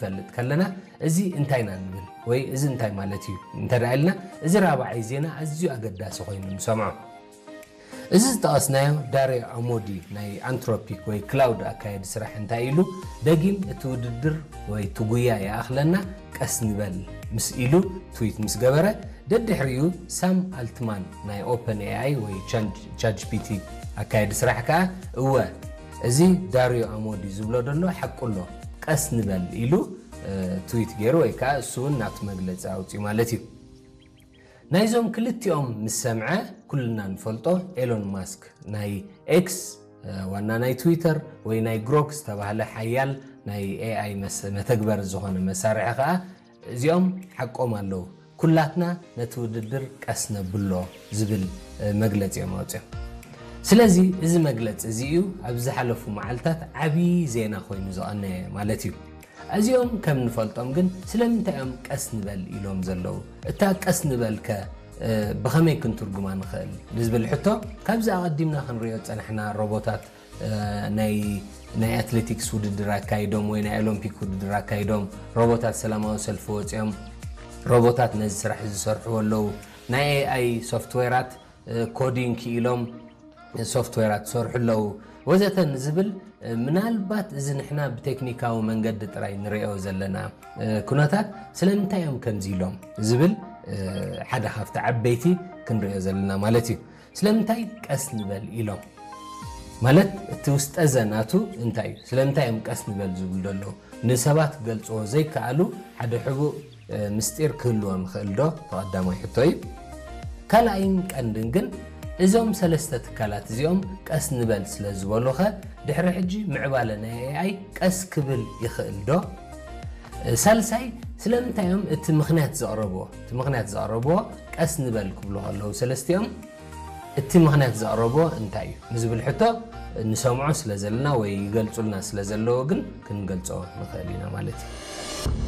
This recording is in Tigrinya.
ክንፈልጥ ከለና፣ እዚ እንታይ ኢና ንብል ወይ እዚ እንታይ ማለት እዩ እንተ ደኣ ኢልና፣ እዚ ራብዓይ ዜና ኣዝዩ ኣገዳሲ ኮይኑ ንሰምዖ። እዚ ዝጠቐስናዮ ዳርዮ ኣሞዲ ናይ ኣንትሮፒክ ወይ ክላውድ ኣካየዲ ስራሕ እንታይ ኢሉ፣ ደጊም እቲ ውድድር ወይ እቲ ጉያ ይኣኽለና፣ ቀስ ንበል ምስ ኢሉ ትዊት ምስ ገበረ፣ ደድሕሪኡ ሳም ኣልትማን ናይ ኦፐን ኤኣይ ወይ ቻት ጂፒቲ ኣካየዲ ስራሕ ከኣ፣ እወ፣ እዚ ዳርዮ ኣሞዲ ዝብሎ ዘሎ ሓቁ ኣሎ፣ ቀስ ንበል ኢሉ ትዊት ገይሩ፣ ወይ ከዓ እሱ እውን ናቱ መግለፂ ኣውፅኡ ማለት እዩ። ናይዞም ክልቲኦም ምስ ሰምዐ፣ ኩልና ንፈልጦ ኤሎን ማስክ ናይ ኤክስ ዋና ናይ ትዊተር ወይ ናይ ግሮክ ዝተባህለ ሓያል ናይ ኤኣይ መተግበር ዝኾነ መሳርሒ ከዓ፣ እዚኦም ሓቆም ኣለዉ፣ ኩላትና ነቲ ውድድር ቀስ ነብሎ ዝብል መግለፂ እዮም ኣውፅኦም። ስለዚ እዚ መግለፂ እዚ እዩ ኣብ ዝሓለፉ መዓልታት ዓብዪ ዜና ኮይኑ ዝቐነየ ማለት እዩ። እዚኦም ከም ንፈልጦም ግን ስለምንታይ እዮም ቀስ ንበል ኢሎም ዘለዉ? እታ ቀስ ንበል ከ ብኸመይ ክንትርጉማ ንኽእል ንዝብል ሕቶ፣ ካብዚ ኣቐዲምና ክንሪኦ ዝጸናሕና ሮቦታት ናይ ናይ ኣትሌቲክስ ውድድር ኣካይዶም ወይ ናይ ኦሎምፒክ ውድድር ኣካይዶም፣ ሮቦታት ሰላማዊ ሰልፊ ወጺኦም፣ ሮቦታት ነዚ ስራሕ እዚ ዝሰርሕዎ ኣለዉ። ናይ ኤኣይ ሶፍትዌራት ኮዲንግ ክኢሎም ሶፍትዌራት ዝሰርሑ ኣለዉ ወዘተ ንዝብል፣ ምናልባት እዚ ንሕና ብቴክኒካዊ መንገዲ ጥራይ ንሪኦ ዘለና ኩነታት ስለምንታይ እዮም ከምዚ ኢሎም ዝብል ሓደ ካብቲ ዓበይቲ ክንሪኦ ዘለና ማለት እዩ። ስለምንታይ ቀስ ንበል ኢሎም? ማለት እቲ ውስጠ ዘናቱ እንታይ እዩ? ስለምንታይ እዮም ቀስ ንበል ዝብሉ ዘለዉ? ንሰባት ክገልፅዎ ዘይከኣሉ ሓደ ሕቡእ ምስጢር ክህልዎም ይኽእል ዶ? ተቐዳማይ ሕቶ እዩ። ካልኣይን ቀንድን ግን እዞም ሰለስተ ትካላት እዚኦም ቀስ ንበል ስለ ዝበሉኸ ድሕሪ ሕጂ ምዕባለ ናይ ኤኣይ ቀስ ክብል ይኽእል ዶ? ሳልሳይ ስለምንታይ እዮም እቲ ምኽንያት ዘቕረብዎ እቲ ምኽንያት ዘቕረብዎ ቀስ ንበል ክብሉ ከለዉ ሰለስቲኦም እቲ ምኽንያት ዘቕረብዎ እንታይ እዩ ንዝብል ሕቶ ንሰምዖ ስለ ዘለና ወይ ይገልጹልና ስለ ዘለዉ ግን ክንገልጾ ንኽእል ኢና ማለት እዩ።